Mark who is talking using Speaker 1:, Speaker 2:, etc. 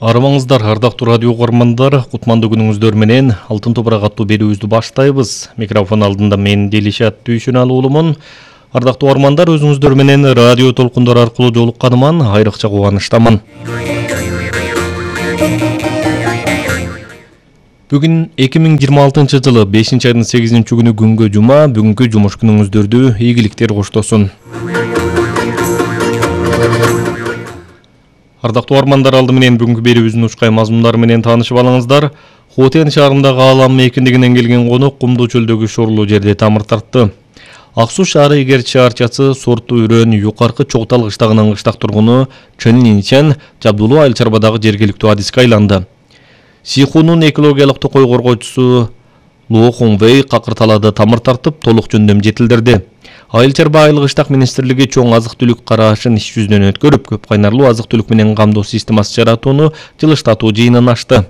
Speaker 1: Армаңыздар, ардактуу радио угармандар, кутмандуу күнүңүздөр менен Алтын топурак аттуу берүүбүздү баштайбыз. Микрофон алдында мен Делишат Дүйшөналы уулумун. Ардактуу угармандар, өзүңүздөр менен радио толкундары аркылуу жолукканыман айрыкча кубанычтамын. Бүгүн 2026 жылы 5-айдын 8-күнү күнгө жума. Бүгүнкү жумуш күнүңүздөрдү ийгиликтер коштосун. Ардактуу угармандар, алды менен бүгүнкү берүүбүздүн учкай мазмундары менен таанышып алыңыздар. Хотен шаарындагы Аалам мейкиндигинен келген конок Кумдуу чөлдөгү шорлуу жерде тамыр тартты. Ак Суу шаары эгер чаарчасы Сорту Үрөн Юкаркы Чогтал кыштагынын кыштак тургуну Чөн Нинчен Жабдулуу Айыл Чарбадагы жергиликтүү адиске айланды. Сихунун экологиялык токой коргоочусу Луо Хонвей какыр талаада тамыр тартып, толук жөндөм жетилдирди. Айыл Чарба айыл кыштак министрлиги чоң азык-түлүк карашын иш жүзүнөн өткөрүп, көп кайнарлуу азык-түлүк менен камдоо системасы жаратууну жылыштатуу жыйынын ачты.